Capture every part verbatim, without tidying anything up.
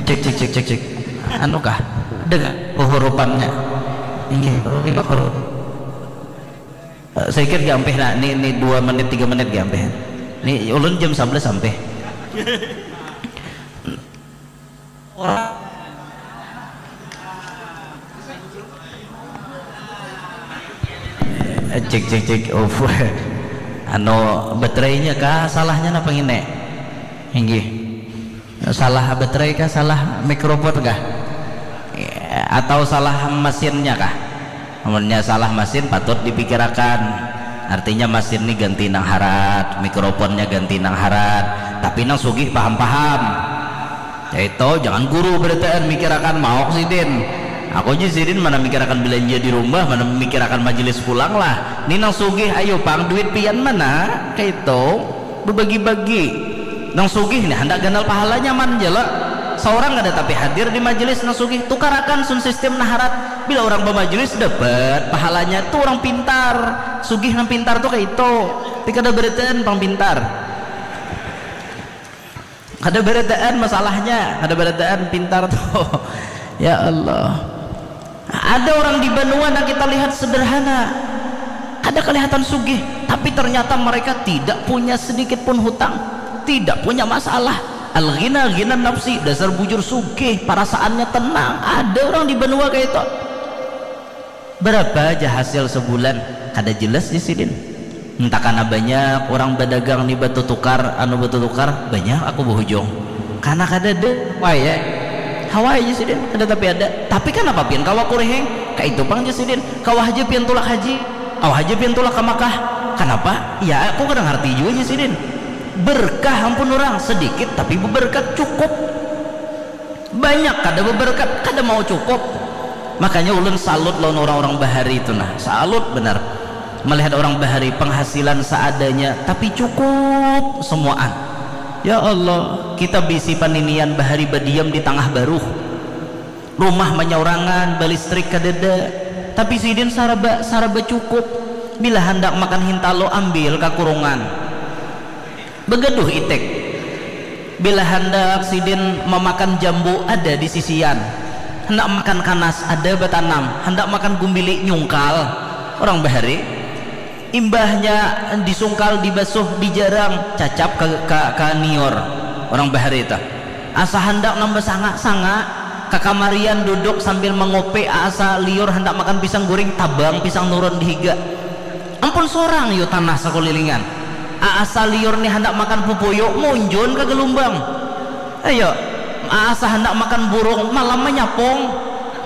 Cek, cek, cek, cek, cek. Anu kah? Dengar hurupannya. Ini huruf. Eh, saya kira gampih nah, ini, ini dua menit, tiga menit gampih. Ini ulun jam sebelas sampai. Cek, cek, cek. Uf. Anu, baterainya kah salahnya napa ngini? Inggih. Salah baterai kah, salah mikrofon kah? Atau salah mesinnya kah? Amunnya salah mesin patut dipikirakan. Artinya mesin ni ganti nang harat, mikrofonnya ganti nang harat. Tapi nang sugih paham-paham. Itu jangan guru berataan mikirakan mauk sidin. Aku nya sidin mana mikirakan belanja di rumah, mana mikirakan majelis pulang lah. Ni nang sugih, ayo pang duit pian mana? Kaitu. Bebagi-bagi. Nang sugih nih handak ganal pahala nyaman ja lah. Saurang kada tapi hadir di majelis nang sugih, tukarakan sun sistem naharat. Bila orang bamajelis dapat pahalanya tu orang pintar. Sugih nang pintar tu kaitu. Ti kada barataan pang pintar. Kada barataan masalahnya, kada barataan pintar tu. Ya Allah. Ada orang di banua nang kita lihat sederhana, kada kelihatan sugih, tapi ternyata mereka tidak punya sedikit pun hutang, tidak punya masalah. Al-ghina ghina nafsi, dasar bujur sugih, perasaannya tenang. Ada orang di banua kayak itu. Berapa aja hasil sebulan? Kada jelas di sidin. Entah karena banyak orang badagang ni batu tukar, anu batu tukar, banyak aku berhujung. Karena kada ada, wah ya. Hawa aja sidin, kada tapi ada. Tapi kenapa pian kawa kurihing? Kayak itu pang aja sidin. Kawa aja pian tulak haji, kawa aja pian tulak ke Makkah. Kenapa? Ya aku kada ngerti juga aja sidin. Berkah ampun orang, sedikit tapi berkat cukup. Banyak kada beberkat, kada mau cukup. Makanya ulun salut lawan orang-orang bahari itu nah, salut benar. Melihat orang bahari penghasilan seadanya tapi cukup semuaan. Ya Allah, kita bisi paninian bahari badiam di tangah baruh. Rumah manyaurangan, balistrik kadada. Tapi sidin saraba, saraba cukup. Bila handak makan hintalo, ambil kakurungan. Begaduh itik. Bila handak sidin memakan jambu ada di sisian. Handak makan kanas ada batanam. Handak makan gumbili nyungkal. Orang bahari. Imbahnya disungkal, dibasuh, dijarang, cacap ka, ka, ka niur. Orang bahari itu. Asa handak nambah sanga, sanga. Kakamarian duduk sambil mengopi, asa liur handak makan pisang guring, tabang pisang nurun di higa. Ampun sorang yu tanah sakulilingan. Aasa liur ni handak makan pupuyu, munjun ka galumbang. Ayo, aasa handak makan burung, malam manyapung.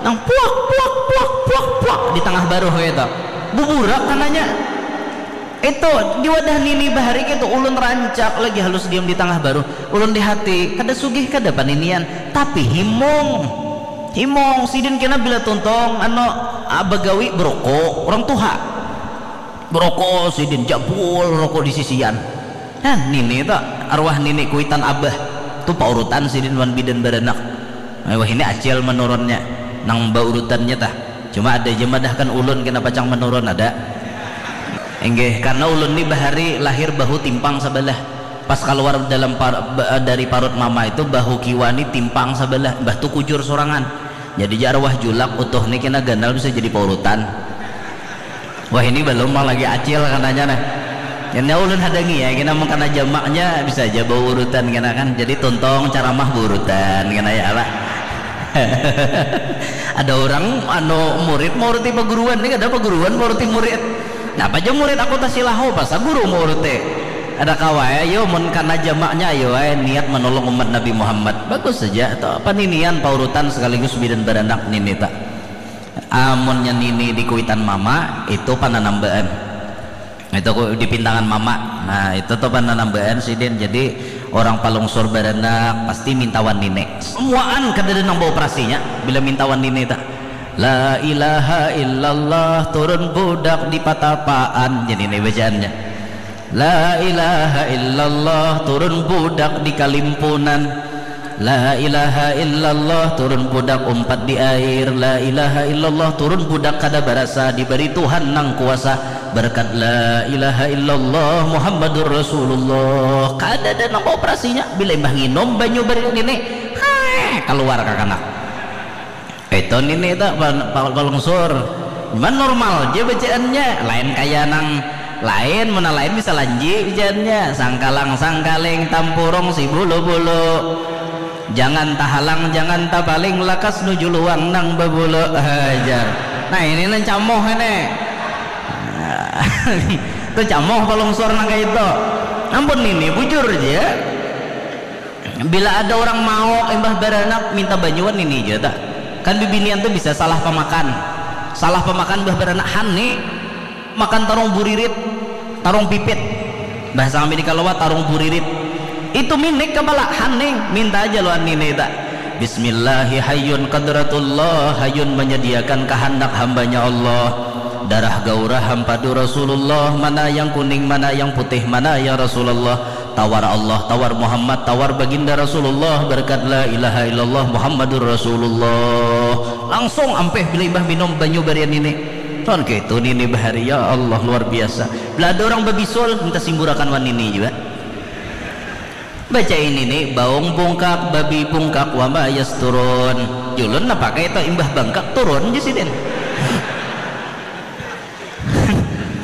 Nang puak, puak, puak, puak, puak di tangah baruh kaitu. Buburak kananya. Itu di wadah nini bahari kaitu ulun rancak lagi halus diam di tangah baruh. Ulun di hati, kada sugih kada paninian, tapi himung. Himung, sidin kena bila tuntung anu, ah, bagawi beroko orang tuha. Beroko sidin, jabul roko di sisian. Nah, nini tu, arwah nini kuitan abah. Tu paurutan sidin wan bidan baranak. Wah, ini acil menurunnya. Nang baurutannya tah. Cuma ada aja madahkan ulun kena pacang menurun, ada. Inggih, karena ulun ni bahari lahir bahu timpang sabalah. Pas kaluar dalam par, ba, dari parut mama itu, bahu kiwa ni timpang sabalah, mbah tu kujur sorangan. Jadi ja arwah julak, utuh ni kena ganal bisa jadi paurutan. Wah, ini balum pang lagi acil kananya nah. Kena ulun hadangi ya, kena mengkana jamaknya bisa aja baurutan kena kan. Jadi tuntung caramah baurutan kena ya lah. Ada orang anu murid mauruti paguruan ni, kada paguruan mauruti murid. Napa ja murid aku tasilahu, pasa guru mauruti. Ada kawa ya, yo mun kana jamaknya ayo ai niat menolong umat Nabi Muhammad. Bagus saja, atau paninian paurutan sekaligus bidan baranak nini ta. Amunnya nini di kuitan mama, itu pananambaan. Itu ku di pintangan mama. Nah, itu tu pananambaan sidin. Jadi orang palungsur baranak pasti mintawan nini. Semuaan kadada nang baoperasinya bila mintawan nini ta. La ilaha illallah, turun budak di patapaan. Jadi ini bacaannya. La ilaha illallah, turun budak di kalimpunan. La ilaha illallah, turun budak umpat di air. La ilaha illallah, turun budak kada barasa, dibari Tuhan nang kuasa. Berkat la ilaha illallah Muhammadur Rasulullah. Kadada nang operasinya. Bila imbah nginum banyu bari ngini, heh, Keluar kakanak. Itu nini itu pal- pal- palungsur. Cuman normal aja bacaannya. Lain kaya nang lain, mana lain bisa lanji bacaannya. Sangkalang sangkaling tampurung si bulu-bulu. Jangan tahalang, jangan tapaling, lakas nuju luang nang babulu. Hajar. Nah, ini nang camoh ini. Itu camoh palungsur nang kayak itu. Ampun nini, bujur aja. Bila ada orang mau imbah baranak minta banyuan ini aja tak. Kan bibinian tuh bisa salah pemakan. Salah pemakan imbah baranak han nih. Makan tarung buririt, tarung pipit. Bahasa kami di Kalawa tarung buririt. Itu minik kepala han nih. Minta aja luan nini tak. Bismillahi hayyun qadratullah, hayyun menyediakan kehendak hambanya Allah. Darah gaurah hampadu Rasulullah, mana yang kuning, mana yang putih, mana ya Rasulullah. Tawar Allah, tawar Muhammad, tawar baginda Rasulullah, berkat la ilaha illallah Muhammadur Rasulullah. Langsung ampih bila imbah minum banyu barian ini. Tuan gitu nini bahari, ya Allah, luar biasa. Bila ada orang babisul, minta simburakan wan nini juga. Baca ini nih, baung bungkak, babi bungkak, wama yasturun. Julun napa kayak itu imbah bangkak turun di sini.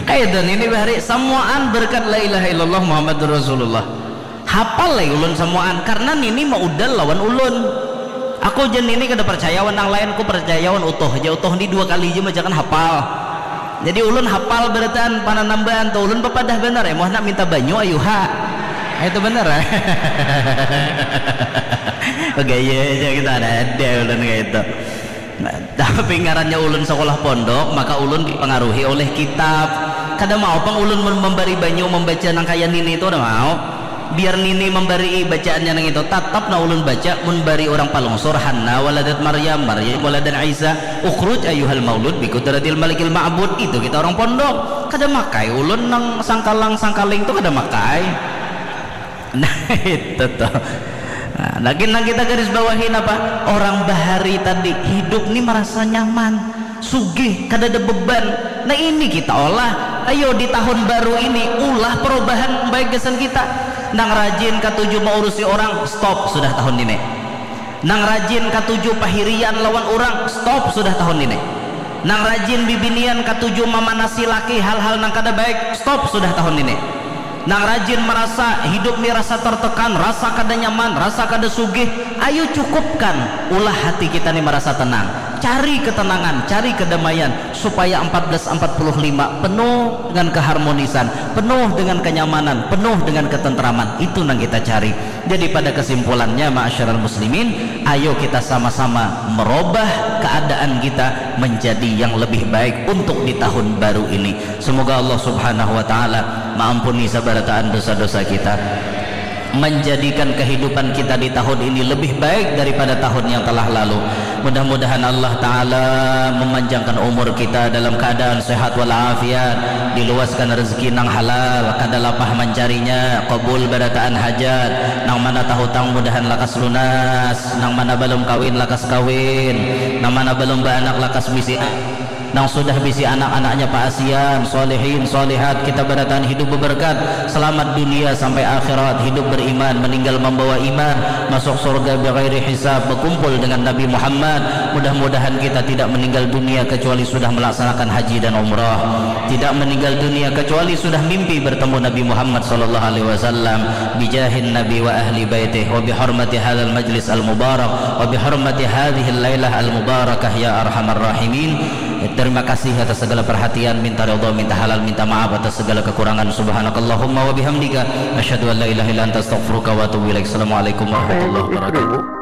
Kayak itu nini bahari, samuaan berkat la ilaha illallah Muhammadur Rasulullah. Hapal lagi ulun samuaan karena nini maudal lawan ulun. Aku jen nini kada percaya wan nang lain, aku percaya wan utuh aja. Utuh ni dua kali aja majakan hapal. Jadi ulun hapal berataan pananambahan tu, ulun papadah banar ya, muah nak minta banyu ayu ha. Itu benar ya. Gaya aja kita ada ada ulun kayak itu. Nah, tapi ngarannya ulun sekolah pondok, maka ulun dipengaruhi oleh kitab. Kada mau pang ulun mem- membari banyu membaca nang kaya nini itu, kada mau. Biar nini membari bacaannya nang itu, tatap nah ulun baca, mun bari orang palungsur, Hanna waladat Maryam, Maryam waladan Isa, ukhruj ayuhal maulud bikudratil malikil ma'bud. Itu kita orang pondok. Kada makai ulun nang sangkalang sangkaling tu kada makai. Nah, itu tuh. Nah, lagi nang kita garis bawahi napa? Orang bahari tadi hidup ni merasa nyaman, sugih, kada ada beban. Nah, ini kita olah. Ayo di tahun baru ini ulah perubahan baik gasan kita. Nang rajin katuju maurusi orang, stop sudah tahun ini. Nang rajin katuju pahirian lawan orang, stop sudah tahun ini. Nang rajin bibinian katuju mamanasi laki hal-hal nang kada baik, stop sudah tahun ini. Nang rajin merasa hidup ni rasa tertekan, rasa kada nyaman, rasa kada sugih, ayo cukupkan, ulah hati kita ni merasa tenang. Cari ketenangan, cari kedamaian, supaya empat belas empat puluh lima penuh dengan keharmonisan, penuh dengan kenyamanan, penuh dengan ketentraman. Itu nang kita cari. Jadi pada kesimpulannya, ma'asyiral muslimin, ayo kita sama-sama merubah keadaan kita menjadi yang lebih baik untuk di tahun baru ini. Semoga Allah Subhanahu wa Ta'ala maampuni sabarataan dosa-dosa kita, menjadikan kehidupan kita di tahun ini lebih baik daripada tahun yang telah lalu. Mudah-mudahan Allah Ta'ala memanjangkan umur kita dalam keadaan sehat walafiat, diluaskan rezeki nang halal, kada lapah mancarinya, kabul barataan hajat, nang mana tahutang mudahan lakas lunas, nang mana balum kawin lakas kawin, nang mana balum baanak lakas bisi, nang sudah bisi anak-anaknya paasian, solihin, solihat, kita barataan hidup beberkat, selamat dunia sampai akhirat, hidup beriman, meninggal membawa iman, masuk surga bighairi hisab, berkumpul dengan Nabi Muhammad. Mudah-mudahan kita tidak meninggal dunia kecuali sudah melaksanakan haji dan umrah. Tidak meninggal dunia kecuali sudah mimpi bertemu Nabi Muhammad sallallahu alaihi wasallam. Bijahin Nabi wa ahli baitih wa bihormati hadzal majlis al mubarak wa bihormati hadzihil lailah al mubarakah ya arhamar rahimin. Terima kasih atas segala perhatian, minta ridha, minta halal, minta maaf atas segala kekurangan. Subhanakallahumma wa bihamdika, asyhadu an la ilaha illa anta, astaghfiruka wa atubu ilaik. Assalamualaikum warahmatullahi wabarakatuh.